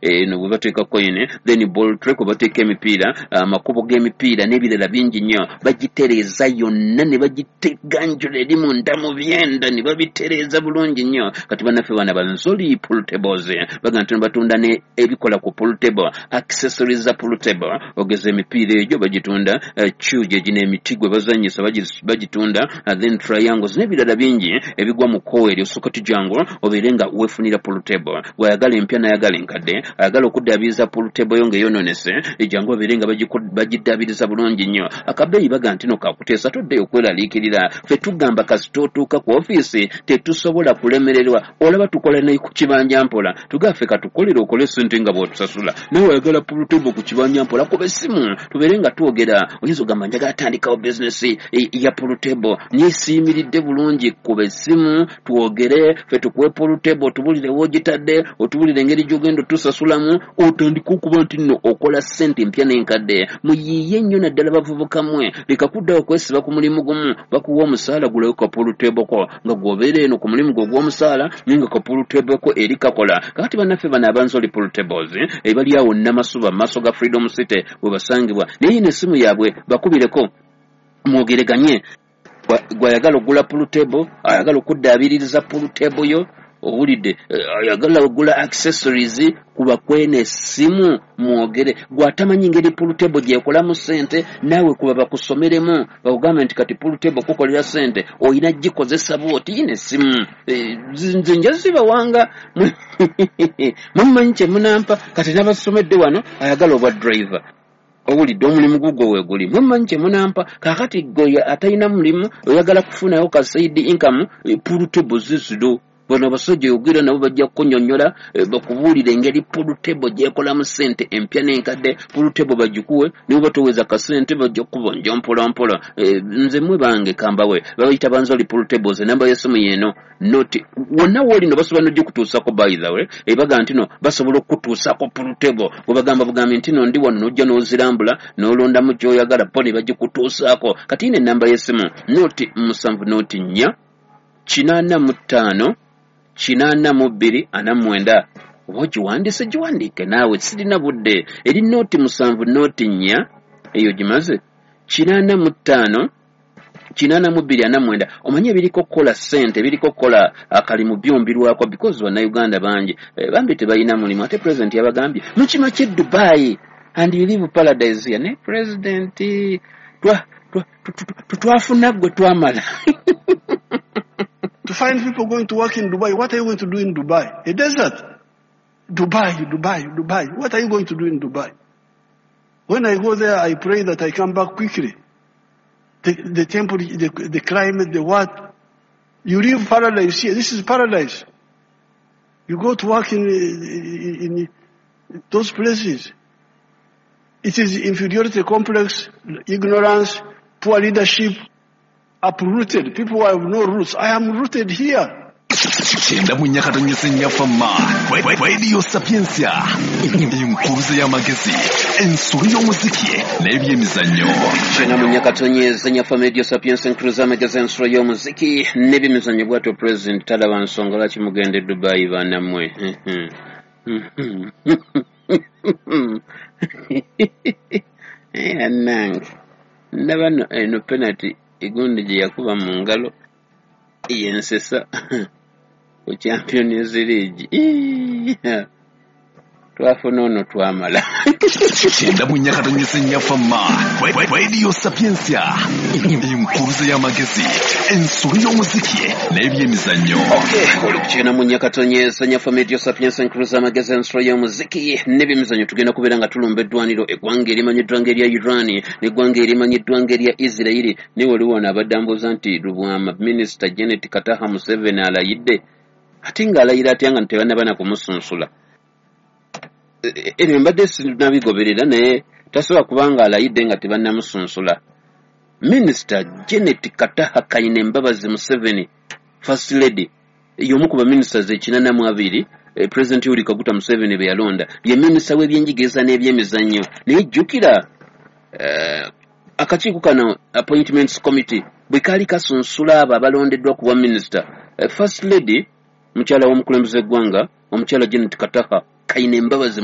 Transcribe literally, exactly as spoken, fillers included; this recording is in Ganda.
Eno bwe bateeka coin, then ball tray kwe bateeka emipiira, amakubo g'emipiira n'ebirala bingi nnyo. Bagitereeza yonna ne bagiteganjula eri munda mu byenda ne babitereeza bulungi nnyo. Kati bannaffe bana banzoli pool tables baga nti batunda ne ebikola ku pool table, accessories za pool table, ogeza emipiira egyo bagitunda, cue gye gino emiti gwe bazannyisa bagitunda, then triangles n'ebirala bingi ebigwa mu kkowa eryo. Osooka tujangu obeere nga weefunira pool table. Bw'ayagala empya n'ayagala enkadde, ayagala okuddaabiriza pool table yo ng'eyonoonese, jangu obeere nga bagiddaabiriza bulungi nnyo. Akabeeyi baga nti no kakuteesa, toddeyo okweraliikirira. Ffe tugamba kasita otuuka ku ofiisi tetusobola kulemererwa. Olaba tukola ne ku kibanja mpola, tugaffe katukolere okole sente nga bw'otusasula. Nawe oyagala pool table ku kibanja mpola, kuba essimu tubeere nga twogera. Oyinza ogamba njagala tandikawo bizinesi ya pool table nesiimiridde bulungi, kuba essimu twogere, ffe tukuwe pool table, otubulire woogitadde, otubulire engeri gy'ogenda otusasulamu, otandike okuba nti nno okola ssente empya n'enkadde. Muyiiye nnyo naddala bavubuka mmwe, leka kuddawo okwesiba ku mulimu gumu bakuwa omusaala. Gulayo ka pool table ko nga gw'obeera eno ku mulimu gwo ogw'omusaala, naye nga ka pool table ko eri kakola. Kakati bannaffe bano abanzoli pool tables ebali awo Namasuba mu maaso ga Freedom City we basangibwa, naye yino essimu yaabwe bakubireko mwogereganye. Gwayagala ogula pool table, ayagala okuddaabiririza pool table yo, owulidde, ayagala ogula accessories, kuba kweno essimu mwogere. Gwatamanyi ngeri pool table gyekolamu ssente, naawe kuba bakusomeremu bakugambe nti kati pool table kukolera ssente oyina gikozesa bwoti. Yino essimu nze nja zibawanga, mumanyi kye munampa. Kati nabasomedde wano, ayagala obwa driver, owulidde, omulimu gugwo weeguli, mumanyi kye munampa. Kaakati gwe atalina mulimu oyagala kufunayo ka side income, pool table ziziro. Bano abasajja yogera nabo bajja kukunyonnyola, bakubuulira engeri pool table gyekolamu ssente empya n'enkadde. Pool table bagikuwe nibo batoweza kasente, bajja kukubanja mpola mpola. Nze mwe bange kambawe babayita banzoli pool tables. Enamba y'essimu yeeno noti wonna wooli no basobola nogikutuusako. By the way, ebaga nti no basobola okukutuusako pool table. Bwebagamba bugambi nti no ndi wano, nojja n'ozirambula n'olondamu gy'oyagala po ne bagikutuusaako. Kati yino enamba y'essimu noti musanvu noti nnya kinaana mu ttaano kinaana mu bbiri ana mwenda. Oba ogiwandiise, giwandiike naawe, sirina budde. Eri nooti musanvu nooti nnya eyo gimaze kinaana mu ttaano kinaana mu bbiri ana mwenda. Omanye ebiriko okukola ssente, ebiriko okukola akalimu byombirwako, because bannayuganda bangi bambi tebalina mulimu, ate president yabagambye mukima kye Dubai and you live paradise here. Ne president twafuna gwe twamala. To find people going to work in Dubai, what are you going to do in Dubai? A desert. Dubai, Dubai, Dubai. What are you going to do in Dubai? When I go there, I pray that I come back quickly. The, the temperature, the, the climate, the what. You live paradise here. This is paradise. You go to work in, in, in those places. It is inferiority complex, ignorance, poor leadership, uprooted. People who have no roots. I am rooted here. Kyenda mu nnya katonyeze nnyafama Radio Sapientia, enkuruze y'amagezi, ensolo y'omuziki n'ebyemizannyo. Kyenda mu nnya katonyeze nnyafama Radio Sapientia, enkuruze y'amagezi, ensolo y'omuziki n'ebyemizannyo. Bwatyo president talaba nsonga lwaki mugenda e Dubai banammwe. Annange ndaba no eno penalty egundi gye yakuba mu ngalo yensesa ku Champions League. Twafuna ono twamala. Kyenda mu nnya katonyeze nnyafama Radio Sapientia, enkuruze y'amagezi, ensolo y'omuziki n'ebyemizannyo. Okay, oli ku kyenda mu nnya katonyeze nnyafama Radio Sapientia, enkuruze y'amagezi, ensolo y'omuziki n'ebyemizannyo. Tugenda kubeera nga tulumba eddwaniro, eggwanga erimanyiddwa ng'erya Iran n'eggwanga erimanyiddwa ng'erya Israeli. Naye waliwo wano abadde ambuuza nti Lubwama, Minisita Janet Kataha Museveni alayidde, ate ng'alayira atya nga tebannaba na kumusunsula? Ebyo mbadde sinabigoberera, naye tasobola kubanga alayidde nga tebannamusunsula. Minisita Janet Kataha Kaine Mbabazi Museveni, First Lady, y'omu ku baminisita ekinana mu abiri President Yoweri Kaguta Museveni be yalonda, ye minisita w'ebyenjigiriza n'ebyemizannyo. Naye jjukira akakiiko kano Appointments Committee bwe kaali kasunsula abo abalondeddwa ku bwa minisita, First Lady, mukyala w'omukulembeze w'eggwanga, omukyala Janet Kataha Kaine Mbabazi